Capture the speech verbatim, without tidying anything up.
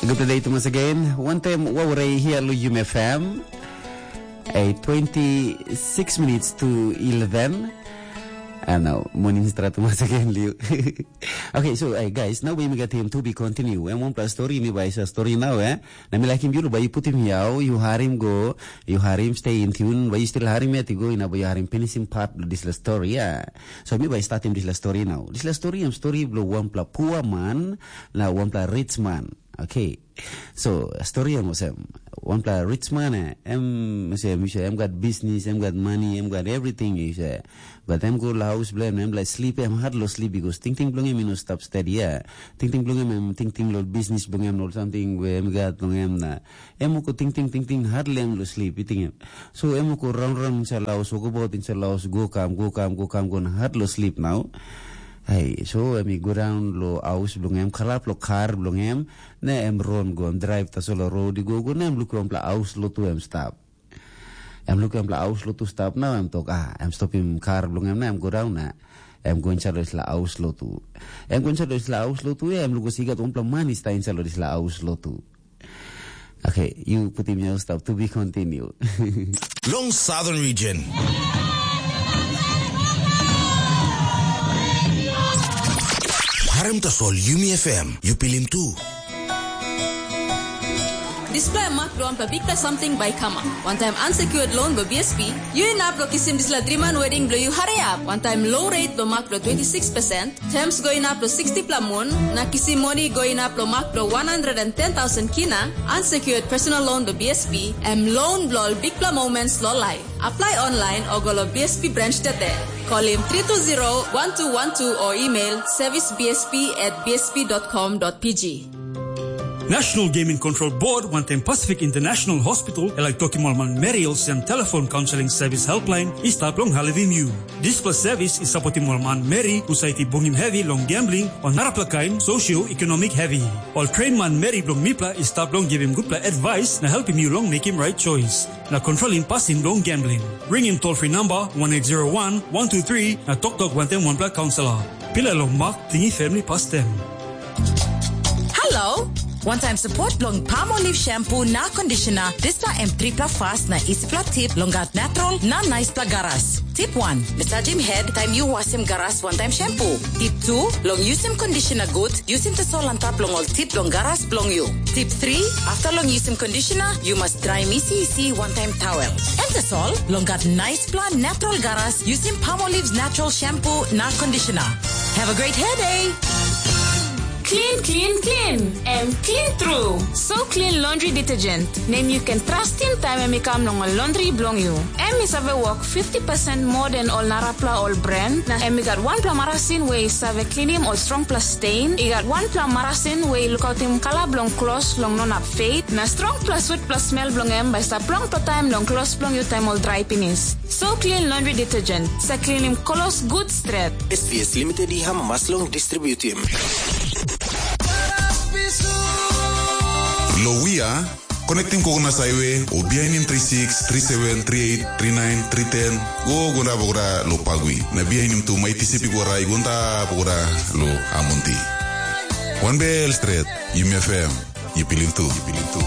Good day to once again. One time, what would I hear Luyum F M? A twenty-six minutes to eleven. And now, morning start once again, Liu. Okay, so hey, guys, now we got him to be continue. And one plus story, mi bai sa story now, eh? Na mi laikim yu, bai yu putim yau, yu harim go, yu harim stay in tune, bai yu still harim yet i go, ina bai yu harim finishing part of this story, yeah. So mi bai startim this story now. This story, em story blo one pla poor man, na one pla rich man. Okay. So, story em olsem, wanpela rich man, eh, em, em, em gat business, em gat money, em gat everything, you say. But em go la house blong em, em like sleep, em hard lo sleep because tingting blong em, you know, stop steady, yeah. Tingting blong em, em tingting lo business blong em, lo something where em gat blong em na. Em go tingting, tingting, hardly em lo sleep, you think em. So em go round, round inside la house, go about inside la house, go kam, go kam, go kam, go na hard lo sleep now. Hey, so em go down lo house blong em, kalap lo car blong em, na em ron go, em drive tasol lo road i go, go na em lukim wanpela haus lotu em stap. Em lukim wanpela haus lotu stap na em tok, ah, em stopim kar bilong em na em go daun na em go insait lo dispela haus lotu. Em go insait lo dispela haus lotu ya, em lukim i gat wanpela man i stap insait lo dispela haus lotu. Okay, yu putim yu stap to be continue. Long Southern Region. Harim tasol Yumi F M, yu pilim tu. Dispela em mak bilong wanpela bikpela samting bai i kamap. Wantaim unsecured loan bilong B S P, yu inap long kisim dispela driman wedding bilong yu hariap. Wantaim low rate bilong mak bilong twenty six percent, terms go inap long sixty pela mun, na kisim moni go inap long mak bilong one hundred and ten thousand kina, unsecured personal loan bilong B S P, em loan bilong ol bikpela moments long laip. Apply online o go long B S P branch tete. Kolim three two zero one two one two o email service B S P at B S P dot com dot P G. National Gaming Control Board wantaim Pacific International Hospital i laik tokim ol manmeri olsem telefon kaunseling sevis helpline i stap long helpim yu. Dispela sevis i sapotim ol manmeri husat i bungim hevi long gambling o narapela kain socio-economic hevi. Ol train manmeri bilong mipela i stap long givim gutpela advice na helpim yu long mekim right choice na kontrolim pasin bilong gambling. Ringim toll free number one eight zero one one two three na toktok wantaim wanpela kaunselor. Pilai long mak, tingim family pastem. Hello! Wantaim support bilong Palmolive shampoo na conditioner, dispela em tripela fast na isipela tip long gat natural na naispela garas. Tip one, massagim head taim yu wasim garas wantaim shampoo. Tip two, long yusim conditioner gut, yusim tasol antap long ol tip long garas bilong yu. Tip three, after long yusim conditioner, yu mas draim isi isi wantaim towel. Em tasol, long gat naispela natural garas, yusim Palmolive's natural shampoo na conditioner. Have a great hair day! Clean, clean, clean. Em clean true. So clean laundry detergent. Nem yu ken trustim taim em i kam long ol laundry bilong yu. Em i save wok fifty percent moa den ol narapela ol brand, na em i gat wanpela marasin we i save klinim ol strongpela stain, i gat wanpela marasin we i lukautim kala bilong klos long no inap fade, na strongpela sutpela smel bilong em bai i stap longpela taim long klos bilong yu taim ol drai pinis. So clean laundry detergent, sa klinim klos gut stret. S T S Limited i amamas long distributim. Lo Wia, connecting Kokonas Highway, o bihainim three six, three seven, three eight, three nine, three ten, go go na bokra lo Pagui. Na bihainim tu mai T C P go rai go nda bokra lo Amonti. One bell straight, Yumi F M, yu pilim tu, yu pilim tu.